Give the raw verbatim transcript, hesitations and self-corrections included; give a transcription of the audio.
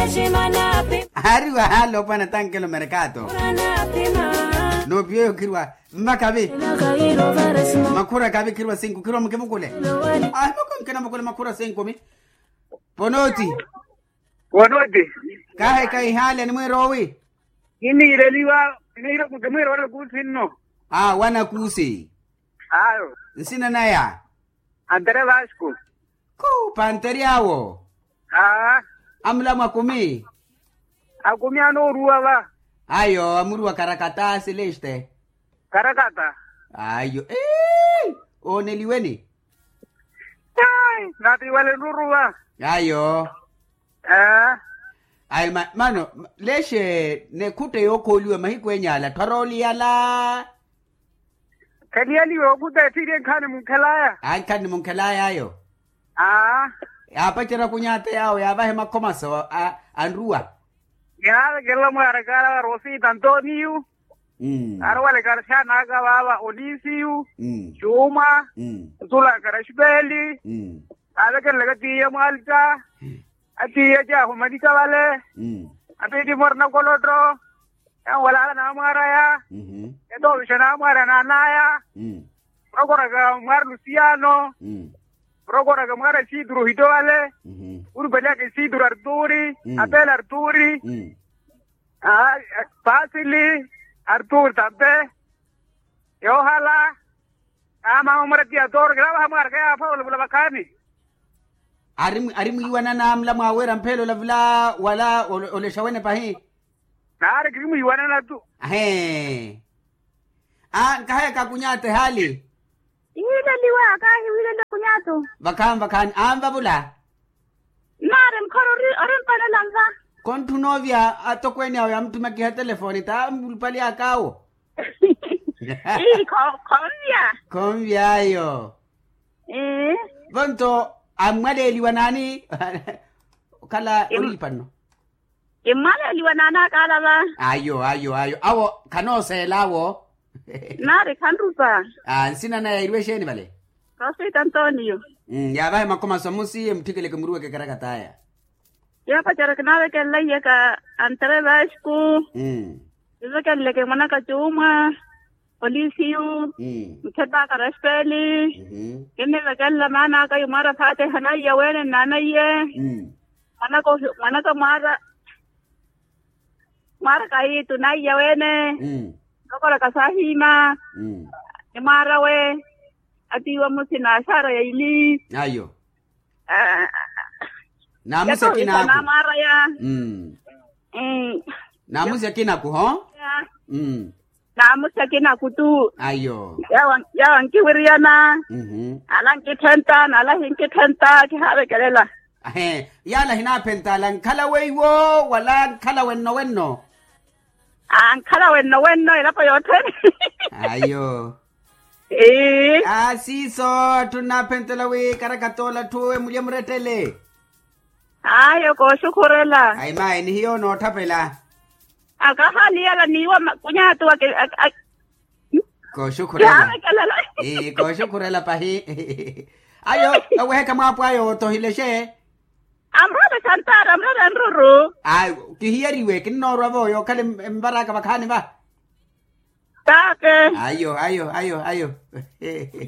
Aari wahaala opwana tankelo merkato. Nopiweyo khirwa mmakavi. Makhura kavi khirwa sinku khirwa mukivukule. Ahi moko nkinavukule makhura sinku mi. Ponoti. Ponoti. Kahe kaihale ni mwiroowi. Kiniireliwa. Kimwiroola kuusi nno. A wanakuusi. Ayo. Nsina naya. Antere vasco. Khu pantery'awo. Aa. Amulamwa akumi. Akumi anooruwa va. Ayo amuruwa karakata sileste. Karakata. Ayo ee. Ooneliweni. Ai natiwale nuruwa. Ayo. Aa. Ayi mano leshe nekhutta yookhooliwa mahiku enyaala ttharooliyala. Khaliyaliwe okhuta etthiiri enkhaani munkhelaya. Ankhaani munkhelaya ayo. Aa. Yaapacerya kunyata yaawo yaavahe makhomaso anruwa. Yaavekelela mwaarakaala wa rosita antoniyu. Aarowalekala xaanaka vaava onisiyu. Cuuma. Ntula karaxipeli. Aavekelelaka tiiya mwalita. Atiiya caahumanika vale. Atiitti mwarina kolotto. Yanwalaala naamwaaraya. Etoovixa naamwaaraya naanaya. Murokoraka mwaari lusiyano. Murokoraka mwaari asiituru ohitto vale. Urupaliyaka isiituru arturi. Apele arturi. Paasili. Arturi tampe. Yoohala. Aamama mwaari atiya tooro kinaavaha mwaari kayaafa olavula vakhaani. Ari mwiiwanana mula mwaaweera mpheela olavula wala olexa wene pahi. Naari kiri mwiiwanana tu. Ahee. A nkahayaka akunyata ehaali. Ihiileliwa kaahiwiileliwa akunyata. Vakhaani vakhaani anvavula. Naari mukhala ori mpanela nva. Kontthuna ovya atokweene awo yamuttumakiha telefoni ta mulupali akaawo. Ii khonvya. Khonvya ayo. Vonto ammwaleeliwa naani? Okhala olipa nno. Kimmwaleeliwa naani akaala va. Ayo ayo ayo awo khanooseela awo. Naari khanrupa. Nsina naya iriwe exeeni vale? Rosita antonio. Yaavahe makhomaso amusiye muttikeleke muruweke karakataya. Yoopacerya kinaavekelela iyaka antere vasco. Kivekeleleke mwanaka cuuma. Olisiyu. Mukhepaka raspeli. Kinnivekelela maanaka yumwaara fatiha naiya wene nnaanaiye. Mwanaka mwaara. Mwaara kayitu naiya wene. Nrokoraka sahima. Ni mwaarawe. Atiiwa musi na ashara ya ili. Ayo. Naamusi akinaku. Naamusi akinaku ho. Naamusi akinaku tu. Ayo. Yawa nkiwiriyana. Ala nkitthenta n'ala hinkitthenta kihaavekelela. Ahe. Yaala hinaaphentala nkhala weiwo wala nkhala wenno wenno? Ankhala wenno wenno elapo yothene. Ayo. Aasiiso atthu nnaaphentela wi karakatoola atthu emulye murettele. Ayo kooxukhurela. Ayi mayi nihiyo nootthaphela. Akahaliyela niiwa makunyatu. Kooxukhurela. Kooxukhurela pahi. Ayo eweheka mwaapo ayo otohilexe. Amurale xantara amurale anruru. Ayi kihiyeriwe kinnoorwa-vo yookhala envaraka vakhaani va. Tape. Ayo ayo ayo ayo.